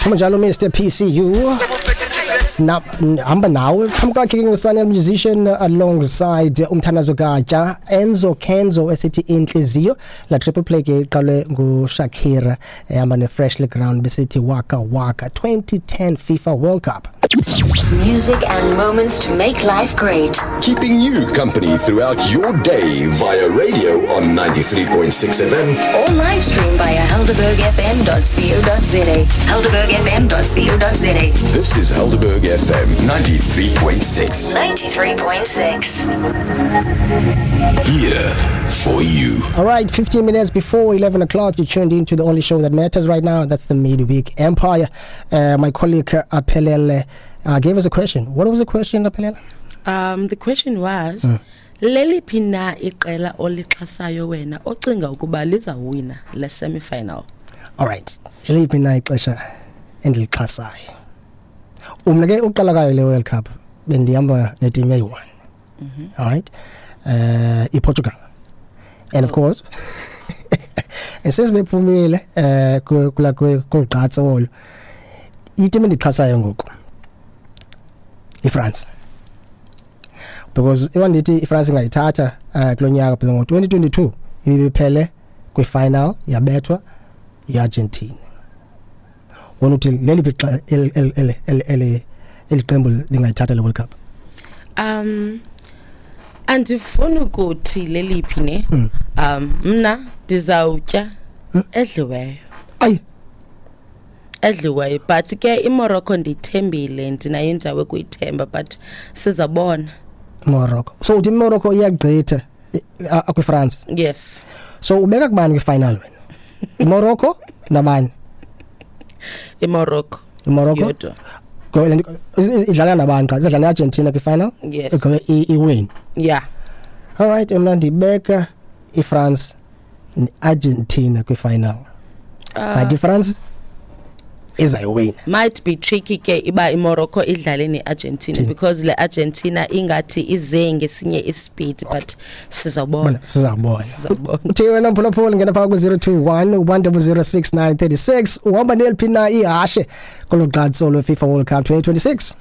Njalo Mr PCU na hamba nawe phambi kwakhe ke nguSanel musician alongside umthandazo Gatya, Enzo Kenzo esithi inhliziyo. La triple play ke iqalwe nguShakira ehamba neFreshly Ground besithi Waka Waka. 2010 FIFA World Cup. Music and moments to make life great. Keeping you company throughout your day via radio on 93.6 FM. Or live stream via helderbergfm.co.za. Helderbergfm.co.za. This is Helderberg FM 93.6. 93.6. Here for you. All right, 15 minutes before 11 o'clock, you tuned into the only show that matters right now. That's the Midweek Empire. My colleague Aphelele gave us a question. What was the question, Aphelele? The question was leliphi na iqela olixhasayo wena ocinga ukuba lizawina le semi-final? All right. Leliphi na ixesha endilixhasayo? Umna ke uqala kayo le World Cup bendihamba neteam eyi-1. All right. IPortugal. And of course, and since bephumile kula kugqatso olo, iteam endixhasayo ngoku iFrance. Because iba ndithi iFrance ingayithatha kulo nyaka, because ngo-2022 ibiphele kwi-final yabethwa iArgentina. Wona uthi leliphi eli qembu lingayithatha le World Cup? Andifuni ukuthi leliphi ne. Mna ndizawutya edliweyo. Ayi. Edliweyo, but ke iMorocco ndiyithembile, ndinayo indawo ekuyithemba, but sizabona. Morocco. So uthi iMorocco iyagqitha kwiFrance? Yes. So ubeka kubani kwifinal wena? IMorocco nabani? IMorocco. IMorocco? Yodwa. Idlala nabani qha? Idlala neArgentina kwifinal? Yes. Iwin. Yeah. All right, mna ndibeka iFrance neArgentina kwifinal. But iFrance izayiwina. Might be tricky ke iba iMorocco idlale neArgentina, because le Argentina ingathi ize ngesinye ispeed, but sizabona. Sizabona. Sizabona. Uthi wena mphulaphula ngena phaka ku-021 1006936, uhamba neliphi na ihashe kolu gqatso lwe-FIFA World Cup 2026?